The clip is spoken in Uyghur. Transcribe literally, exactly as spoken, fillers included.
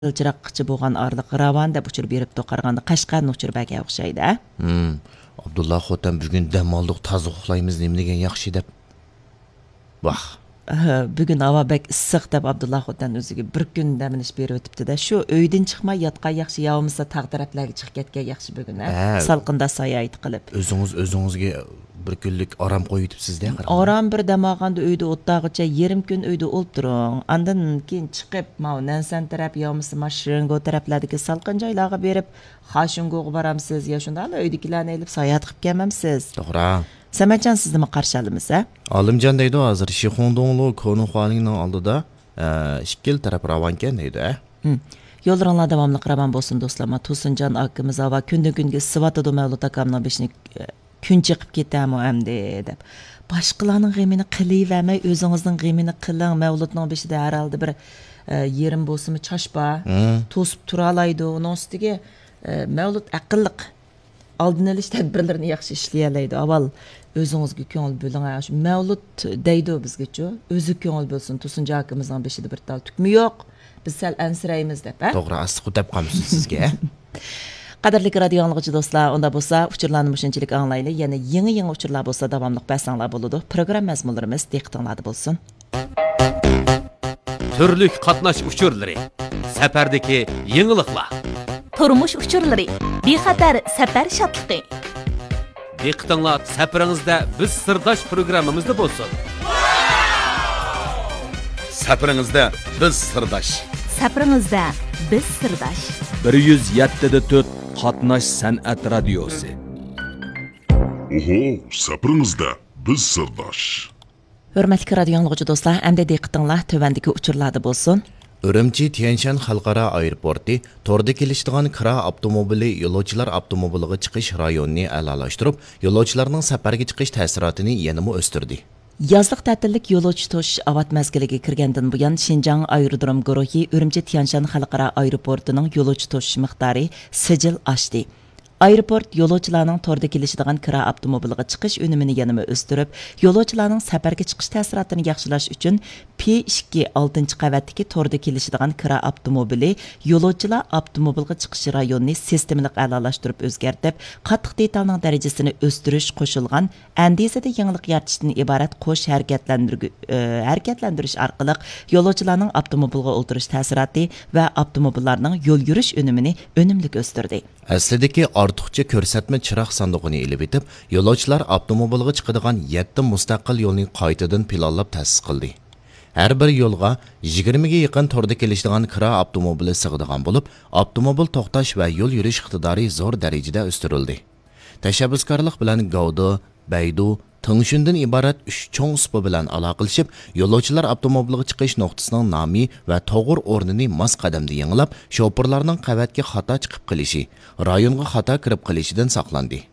يىلچىراغقىچە بولغان ئارىلىق راۋان دەپ ئۇچۇر بېرىپتۇ، قارىغاندا قەشقەردىن ئۇچۇر بەرگەن ئوخشايدۇ، ھە؟ ھىم. ئابدۇللا خوتەن بۈگۈن دەم ئالدۇق، تازا ئۇخلايمىز، نېمە دېگەن ياخشى دەپ. ۋاھ. ھە، بۈگۈن ھاۋا بەك ئىسسىق دەپ ئابدۇللا خوتەن ئۆزىگە بىر كۈن دەم ئېلىش بېرىۋېتىپتۇ-دە. شۇ ئۆيدىن چىقماي ياتقان ياخشى، يا بولمىسا تاغ تەرەپلەرگە چىقىپ كەتكەن ياخشى بۈگۈن، ھە؟ ھە. سالقىندا ساياھەت قىلىپ. ئۆزىڭىز ئۆزىڭىزگە بىر كۈنلۈك ئارام قويۇۋېتىپسىز-دە، قاراڭ. ئارام بىر دەم ئالغاندا ئۆيدە ئولتۇرغۇچە يېرىم كۈن ئۆيدە ئولتۇرۇڭ. ئاندىن كېيىن چىقىپ، ماۋۇ نەنسەن تەرەپ يا بولمىسا ماشىنگو تەرەپلەردىكى سالقىن جايلارغا بېرىپ، خاشىنگوغا بارامسىز يا شۇنداقلا ئۆيدىكىلەرنى ئېلىپ ساياھەت قىلىپ كەلمەمسىز؟ توغرا. سەمەتجان، سىزنىمۇ قارشى ئالىمىز، ھە؟ ئالىمجان دەيدۇ، ھازىر شىخۇڭدۇڭلۇ كونۇخۇالىڭنىڭ ئالدىدا، ئە، ئىككىلا تەرەپ راۋانكەن دەيدۇ، ھە؟ ھىم. يوللىرىڭلار داۋاملىق راۋان بولسۇن، دوستلار. ما تۇرسۇنجان ئاكىمىز ھاۋا كۈندىن كۈنگە ئىسسىۋاتىدۇ، مەۋلۇت ئاكامنىڭ بېشىنى، ئە، كۈن چېقىپ كېتەرمۇ ئەمدى دەپ. باشقىلارنىڭ غېمىنى قىلىۋەرمەي، ئۆزىڭىزنىڭ غېمىنى قىلىڭ. مەۋلۇتنىڭ بېشىدا ھەر ھالدا بىر، ئە، يېرىم بولسىمۇ چاچ بار. ھىم. توسۇپ تۇرالايدۇ. ئۇنىڭ ئۈستىگە، ئە، مەۋلۇت ئەقىللىق. ئالدىنى ئېلىش تەدبىرلىرىنى ياخشى ئىشلىيەلەيدۇ. ئاۋۋال ئۆزىڭىزگە كۆڭۈل بۆلۈڭ. ھە، شۇ مەۋلۇت دەيدۇ بىزگىچۇ. ئۆزى كۆڭۈل بۆلسۇن. تۇرسۇنجان ئاكىمىزنىڭ بېشىدا بىر تال تۈكمۇ يوق. بىز سەل ئەنسىرەيمىز دەپ، ھە؟ توغرا، ئاستىغۇ دەپ قالمىسۇن سىزگە. قەدىرلىك رادىيو ئاڭلىغۇچى دوستلار، ئۇندا بولسا ئۇچۇرلارنى مۇشۇنچىلىك ئاڭلايلى. يەنە يېڭى-يېڭى ئۇچۇرلار بولسا داۋاملىق بەرسەڭلار بولىدۇ. پروگرامما مەزمۇنلىرىمىز دىققىتىڭلاردا بولسۇن. تۈرلۈك قاتناش ئۇچۇرلىرى، سەپەردىكى يېڭىلىقلار. تۇرمۇش ئۇچۇرلىرى، بىخەتەر سەپەر شادلىقى. دىققىتىڭلار سەپىرىڭىزدە بىز سىرداش پروگراممىمىزدا بولسۇن. سەپىرىڭىزدە بىز سىرداش. سەپىرىڭىزدە بىز سىرداش. بىر يۈز يەتتە دە تۆت قاتناش سەنئەت رادىيوسى. ئوھو، سەپىرىڭىزدە بىز سىرداش. ھۆرمەتلىك رادىيو ئاڭلىغۇچى دوستلار، ئەمدى دىققىتىڭلار تۆۋەندىكى ئۇچۇرلاردا بولسۇن. ئۈرۈمچى تيەنشان خەلقئارا ئايروپورتى توردا كېلىشىدىغان كىرا ئاپتوموبىلى يولۇچىلار ئاپتوموبىلىغا چىقىش رايونىنى ئەلالاشتۇرۇپ، يولۇچىلارنىڭ سەپەرگە چىقىش تەسىراتىنى يەنىمۇ ئۆستۈردى. يازلىق تەتىللىك يولۇچى توشۇش ئاۋات مەزگىلىگە كىرگەندىن بۇيان، شىنجاڭ ئايرودروم گۇرۇھى ئۈرۈمچى تيەنشان خەلقئارا ئايروپورتىنىڭ يولۇچى توشۇش مىقدارى سىجىل ئاشتى. ئايروپورت يولۇچىلارنىڭ توردا كېلىشىدىغان كىرا ئاپتوموبىلىغا چىقىش ئۈنۈمىنى يەنىمۇ ئۆستۈرۈپ، يولۇچىلارنىڭ سەپەرگە چىقىش تەسىراتىنى ياخشىلاش ئۈچۈن، پى ئىككى ئالتىنچى قەۋەتتىكى توردا كېلىشىدىغان كىرا ئاپتوموبىلى يولۇچىلار ئاپتوموبىلغا چىقىش رايونىنى سىستېمىلىق ئەلالاشتۇرۇپ ئۆزگەرتىپ، قاتتىق دېتالنىڭ دەرىجىسىنى ئۆستۈرۈش قوشۇلغان ئەندىزىدە يېڭىلىق يارىتىشتىن ئىبارەت قوش ھەرىكەتلەندۈرگۈ-، ئى، ھەرىكەتلەندۈرۈش ئارقىلىق يولۇچىلارنىڭ ئاپتوموبىلغا ئولتۇرۇش تەسىراتى ۋە ئاپتوموبىللارنىڭ يول يۈرۈش ئۈنۈمىنى ئۈنۈملۈك ئۆستۈردى. ئەسلىدىكى ئارتۇقچە كۆرسەتمە چىراغ ساندۇقىنى ئېلىۋېتىپ، يولۇچىلار ئاپتوموبىلغا چىقىدىغان يەتتە مۇستەقىل يولنى قايتىدىن پىلانلاپ تەسىس قىلدى. ھەر بىر يولغا يىگىرمىگە يېقىن توردا كېلىشىدىغان كىرا ئاپتوموبىلى سىغىدىغان بولۇپ، ئاپتوموبىل توختاش ۋە يول يۈرۈش ئىقتىدارى زور دەرىجىدە ئۆستۈرۈلدى. تەشەببۇسكارلىق بىلەن گاۋدې، بەيدۇ، تېڭشۈندىن ئىبارەت ئۈچ چوڭ سۇپا بىلەن ئالاقىلىشىپ، يولۇچىلار ئاپتوموبىلىغا چىقىش نۇقتىسىنىڭ نامى ۋە توغرا ئورنىنى ماس قەدەمدە يېڭىلاپ، شوپۇرلارنىڭ قەۋەتكە خاتا چىقىپ قېلىشى، رايونغا خاتا كىرىپ قېلىشىدىن ساقلاندى.